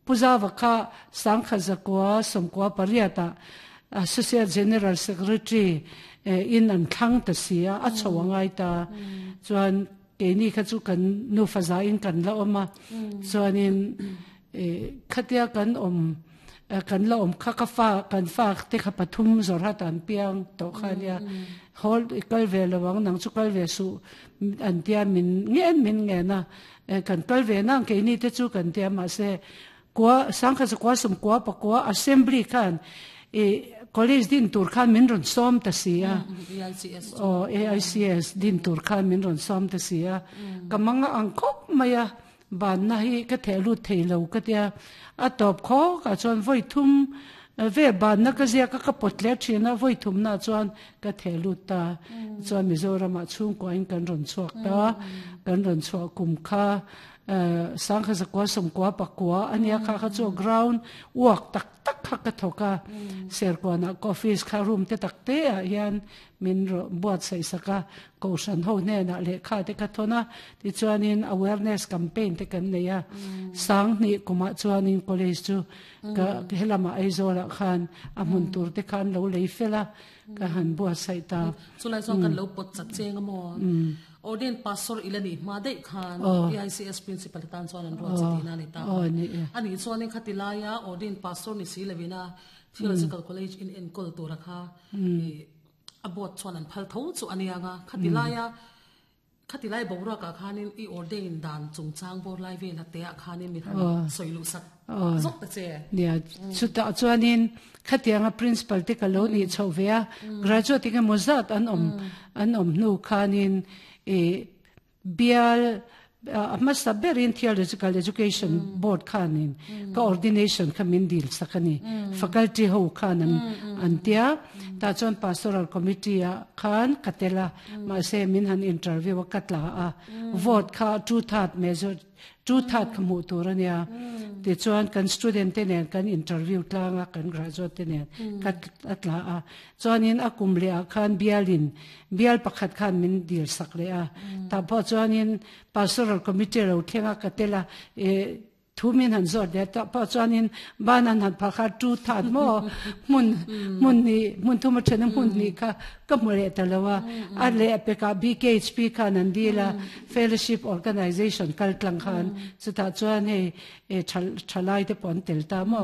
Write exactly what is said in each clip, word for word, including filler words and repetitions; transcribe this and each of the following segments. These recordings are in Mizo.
Pu Zauva kha sangkhat zakua sawmkua pariatah Associate General Secretary in an thlang ta si a, a chho a ngai ta. Chuan keini kha chu kan nufa zain kan la awm a, chuanin khatia kan awm kan la awm kha ka fa kan fa te kha pathum zawrhat an piang tawh kha ania, hawl i kal ve lo ang nang chu kal ve suh an tia min ngen min ngen a, kan kal ve nang keini te chu kan tia mahse kua sangkhat zakua sawmkua pakua assembly khan i college din tur khan min rawn sawm ta si a, aw A I C S din tur khan min rawn sawm ta si a, ka manga ang khawp mai a, banna hi ka theh lut thei lo ka tia, a tawp khawk ah chuan vawi thum vel banna ka ziak a, ka pawt hle thin a, vawi thum na chuan ka theh lut ta. Chuan Mizoram ah chhungkua in kan rawn chhuak ta, kan rawn chhuah kum kha sangkhat zakua sawmkua pakua ania, kha kha chu ground work tak tak kha ka thawk a, Serkawn ah ka office kha room te tak te ah hian min buatsaih sak a, kohhran ho hnenah lehkha te ka thawn a, tichuanin awareness campaign te kan nei a. Sanghnih kumah chuanin college chu ka helamah Aizawl ah khan a hmun tur te khan lo lei fel a, ka han buatsaih ta. Chulai chuan kan lo pawt chat cheng a maw? Ordained pastor ila ni hma daih khan A I C S principal tan chuan an ruat che tihna a ni ta. Ani chuanin khati laia ordained pastor ni si lovina Theological College in enkawl tura kha a board chuan an phal tho chu ania nga, khati laia khati lai boruak ah khanin i ordain dan chungchang bawr lai vel a te ah khanin mi han sawi luh sak zawk ta che. Nia, chutah chuanin khatianga principal te ka lo ni chho ve a, graduate nge maw zat an awm an awm hnu khanin i bial a hmasa berin Theological Education Board khanin ka ordination kha min dil sak ani, faculty ho khan an an tia, ta chuan pastoral committee a khan ka tela, mahse min han interview a, ka tla a, vote kha two third major two third kha hmuh tur ania. Ti chuan kan student te nen kan interview tlanga, kan graduate te nen ka atla a, chuanin a kum le a khan bialin bial pakhat khan min dil sak le a, ta pawh chuanin pastoral committee lo thlenga ka tela e thu min han zawt le, ta pawh chuanin banan han phakha two third mo mun mun ni mun thuma thena mun ni kha ka mu le talowa a le peka B K H P khan an dila fellowship organization kal tlang khan, chuta chuan hei e thalai te pon tel ta mo,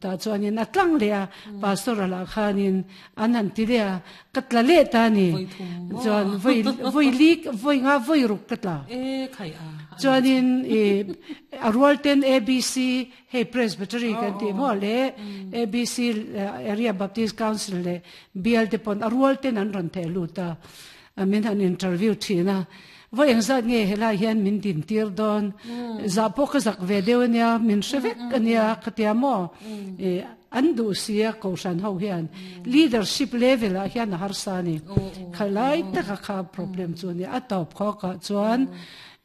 ta chuanin a tlang le a pastoral a khanin an han ti le a, ka tla le ta ni. Chuan voi voi lik voi nga voi ruk ka tla. E khai a. Chuanin e a rual ten A B C hei presbytery kan ti mo le A B C Area Baptist Council le bial te pon a rual ten an ron the lu ta, min han interview thina, voi eng zat nge helai hian min din tir don za po ka zak ve deuh ania, min hrevek ania khatia mo e an du sia ko shan ho hian leadership level a hian a har sa ni khalai taka kha problem chu ni. A top kho ka chuan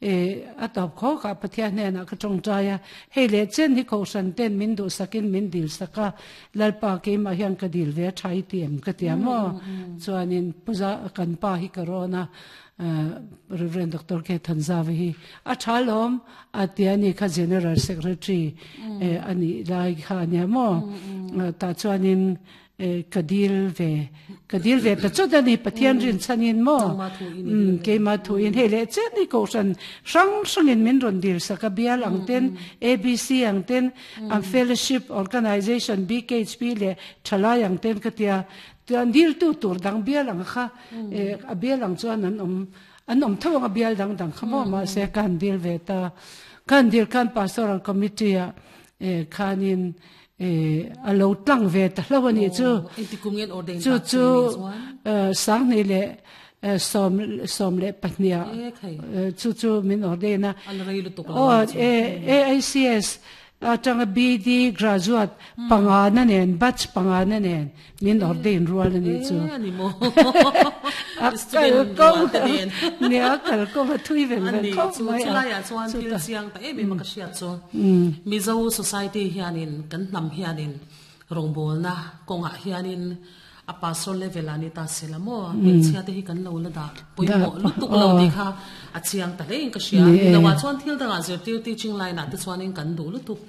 e a top kho ka Pathian hne na ka tong taya hei le chen hi ko shan ten min du sakin min dil saka, Lalpa ke ma hian ka dil ve thai tiam ka tia mo, chuanin puza kan pa hi corona Reverend Doctor K Thanzavi hi a thalom atiani kha general secretary ani lai kha ania mo, ta chuanin ka dil ve ka dil ve ta chutani Pathian rin chanin mo ke ma thu in hei le chen ni ko san sang sangin min ron dil saka bial ang ten A B C ang ten ang fellowship organization B K H P le thalai ang ten ka tia tuan dil tu tur dang bial ang kha a bial ang chuan an om an om tho ang bial dang dang kha mo, ma se kan dil ve ta, kan dil kan pastoral committee a khanin e a lo tlang ve ta hlo ani chu. Chu chu sang ni le som som le pahnia chu chu min ordain a. O A I C S atanga B D graduate panga na nen batch panga na nen min ordain rual ani chu. Ani mo. A kal ko ne a kal ko ma thui vel vel ko mai a chuan thil chiang ta em em ka hriat chu Mizo society hianin kan hnam hianin rongbol na konga hianin a pastor level ani ta sela mo hmeichhia te hi kan lo la da poimo lutuk lo ti kha a chiang ta hle in ka hria. Ni wa chuan thil danga zirtir teaching line ah te chuanin kan du lutuk.